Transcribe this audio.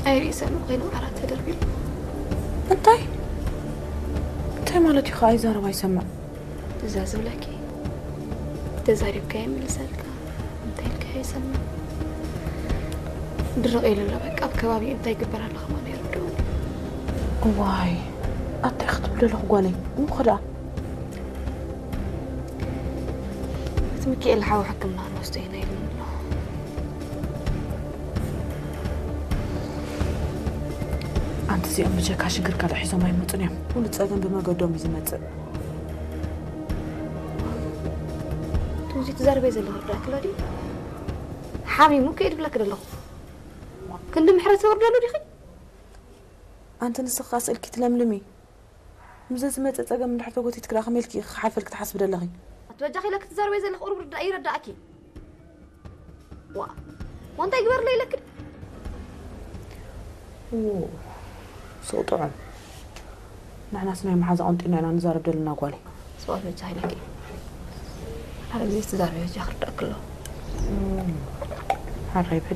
ኣይርእሰሉ ኮይኑ ዓራት ተደርቢሩ። እንታይ እንታይ ማለት እዩ ከዓ ይዛረብ ኣይሰምዕ። እዛ ዝብለኪ ተዛሪብካ ይምልሰልካ እንታይ ኢልካ ይሰምዕ። ድርቕ ኢሉ ኣሎ በቃ ኣብ ከባቢ እንታይ ይግበር ኣሎ ከማን ይርድኡ። ዋይ ኣታይ ክትብል ኣለኹ ጓለይ። እሞ ከ ደኣ እቲ ሚካኤል ሓው ሕክምና ንወስዶ ኢና ኢሉኒ ኣሎ። ኣንቲ እዚኦም ብጀካ ሽግር ካልእ ሒዞም ኣይመፁን እዮም። ኩሉ ፀገም ብመገዶም እዩ ዝመፅእ። ከምዚ ትዛረበይ ዘለኹ ርዳእክሎ ድዩ? ሓሚሙ ከይድ ብለክ ዘለኹ ክንዲ ምሕረት ዘወርደሉ ዲኺ? ኣንቲ ንስኻ ስእልኪ ትለምልሚ። ምዘ ዝመፀ ፀገም እንድሕር ተጎቲት ክዳ ከመልኪ ክሓልፈልኪ ትሓስቢ ደለኺ? ኣቲ በጃኺ ኢለክ ትዛረበይ ዘለኹ ቁሩብ ርዳእ ይረዳእኪ። ዋ ዋ እንታይ ግበርለ ኢለክ? ሱቕ ጥዑም። ንሕናስ ናይ መሓዛ ቆንጢና ኢና ንዛረብ ደለና ጓለይ። ስብኣት በጃኺ ኢለኪ ሓደ ግዜ ትዛረበይ በጃኺ ክርዳእክ ኣሎ። ሓራይ በሊ።